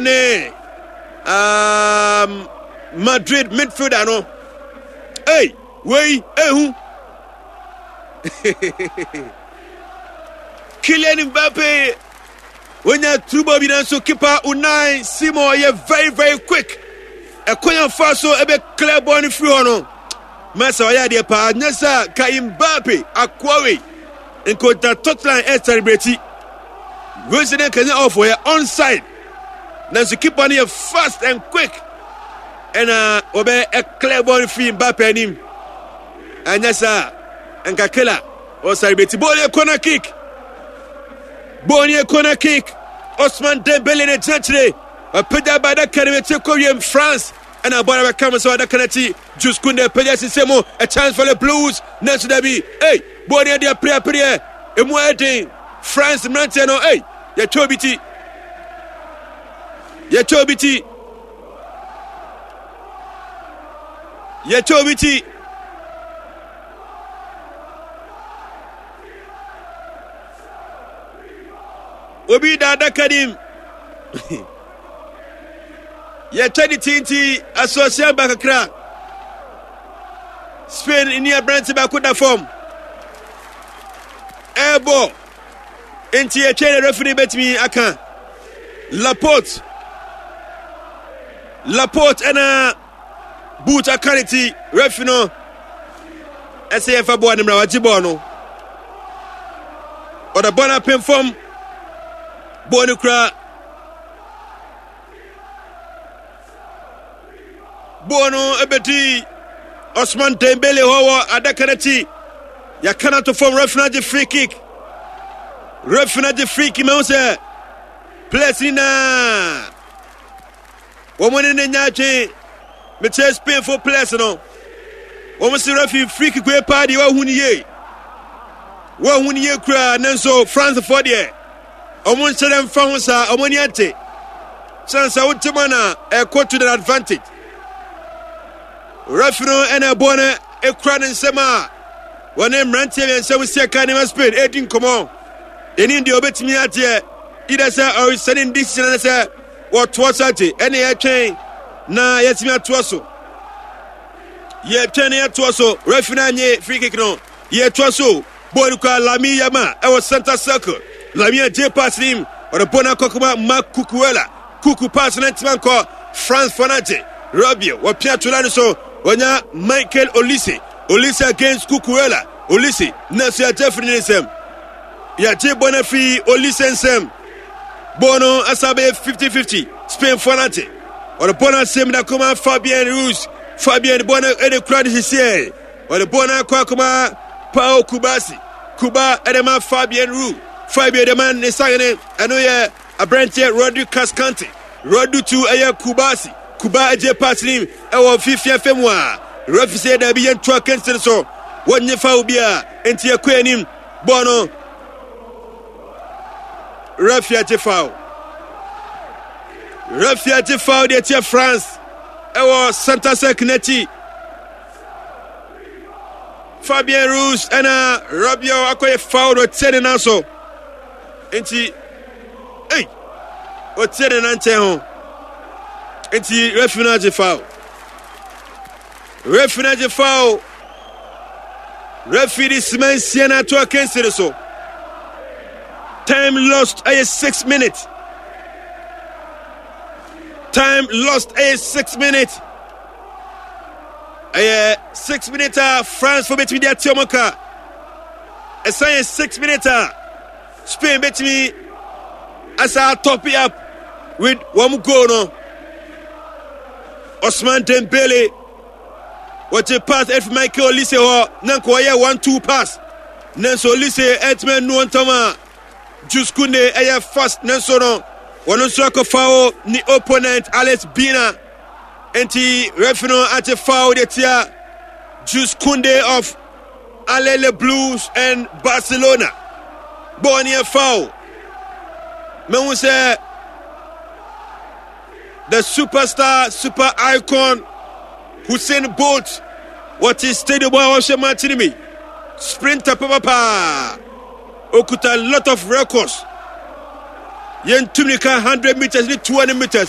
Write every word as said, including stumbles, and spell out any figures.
Ne um, Madrid midfielder no. Ei, wei ehu. Kylian Mbappe wonya turbo bi, nanso keeper Unai Simon yɛ very very quick. Ɛkwan afa so ebe clear ball no firi hɔ no, masa ɔyɛ adeɛ paa. Nyɛ sɛ ka Mbappe akoawe nkota touchline ɛ celebrate wei sɛ ne nkanyɛ off, ɔyɛ onside, nanso keeper no yɛ fast and quick ɛna wɔbɛ ɛ clear ball no firi Mbappe anim. Ɛnyɛ saa nka kela ɔ celebrate. Ball yɛ corner kick, ball yɛ corner kick. Osman Dembele ne gyina kyerɛ ɔpagya ba adaka no akyi kɔ wiem. France ɛna bɔɔl bɛka mo sɛ adaka no akyi. Jules Kounde pagya sisɛ mu, a chance for the Blues, nanso dabi. Ei, bɔɔl no yɛ deɛ pereapereɛ emu ayɛ den. France mmeranteɛ no, ei, yɛtwa obi ti, yɛtwa obi ti, yɛtwa obi ti. Obi da adaka nim, yɛtwa ne ti nti asɔsia ba kakra. Spain ni aberante baako da fam ɛɛbɔ nti yɛtwa ne. Referee bɛtumi aka Laporte, Laporte ɛna boot aka ne ti. Referee no ɛsɛ yɛmfa bɔɔl no mmra. Wagye bɔɔl no, ɔde bɔɔl no apem fam. Bɔɔl no kura, bɔɔl no ɛbɛdi Osman Dembele hɔ wɔ adaka no akyi. Yɛaka no ato fam. Referee no agye free kick, referee no agye free kick. Mahu sɛ players nyinaa wɔn ne ne nya adwen. Mekyerɛ Spain fo players no, wɔn si referee free kick wei paa deɛ, wɔahu no yie, wɔahu no yie koraa. Ne nso France foɔ deɛ, wɔn nhyɛ dɛ mfa ho saa, wɔn ani ate kyɛn sɛ wote mu na ɛkɔ to the advantage. Referee no ɛna ɛbɔ no ekura ne nsam a wɔne mmeranteɛ mmiɛnsa mu si ɛka nneɛma. Spain edi nkɔmɔ ɛni deɛ ɔbɛtumi agyeɛ either sɛ ɔresɛne ne decision ne sɛ wɔtoa so agye. Ɛne yɛtwɛn na yɛtumi atoa so, yɛtwɛn na yɛtoa so. Referee no anye free kick no, yɛtoa so. Bɔɔl kura Lamine Yamal ɛwɔ center circle. Lamine agye pass nim, ɔde bɔɔl no akɔkɔma Marc Cucurella. Kuku pass no ntoma nkɔ. France fɔ no agye. Rabiot wɔpia tola no so, wɔnya Michael Olise. Olise against Cucurella. Olise, nanso yɛagye afiri ne nsam, yɛagye bɔ no afiri Olise nsam. Bɔɔl no asa bɛyɛ fifty fifty. Spain fɔ no agye, ɔde bɔɔl no asɛm da kɔma Fabian Ruiz. Fabian bɔɔl no ɛde kura no sisiɛ, ɔde bɔɔl no akɔ akɔma Pau Cubarsi. Kuba ɛde ma Fabian Ruiz. Fabian de ma ne sangene, ɛno yɛ aberanteɛ Rodri Cascante. Rodri tu ɛyɛ Cubarsi. Kuba agye pass nim ɛwɔ fifia fam a referee sɛ dabi, yɛntoa kɛnse no so, wɔnye foul bi a nti yɛkɔ anim. Bɔɔl no, referee agye foul, referee agye foul deɛ tia France ɛwɔ center circle n'akyi. Fabian Ruiz ɛna Rabiot akɔyɛ foul no, ɔtia ne nan so nti, ei, ɔtia ne nan nkyɛn ho nti referee no agye foul, referee no agye foul. Referee de sima nsia na ato akansi no so. Time lost ɛyɛ six minutes, time lost ɛyɛ six minutes, ɛyɛ six minutes a France fo bɛtumi de ate ɔmo ka. Ɛsan yɛ six minutes a Spain bɛtumi asa top it up with wɔn goal no. Osman Dembele wɔgye pass ɛfi Michael Olise hɔ na nka wɔyɛ one two pass, nanso Olise ɛtumi anu ntɔm a Jules Kounde ɛyɛ fast, nanso no wɔn nso akɔ foul ne opponent Alex Baena nti referee no agye foul de tia Jules Kounde of Alele Blues and Barcelona. Bɔɔl no yɛ foul. Mehu sɛ the superstar, super icon Usain Bolt wɔte stadium a wɔhwɛ match no mi. Sprinter papapaa, okuta lot of records. Yɛntumi ka hundred meters ne two hundred meters.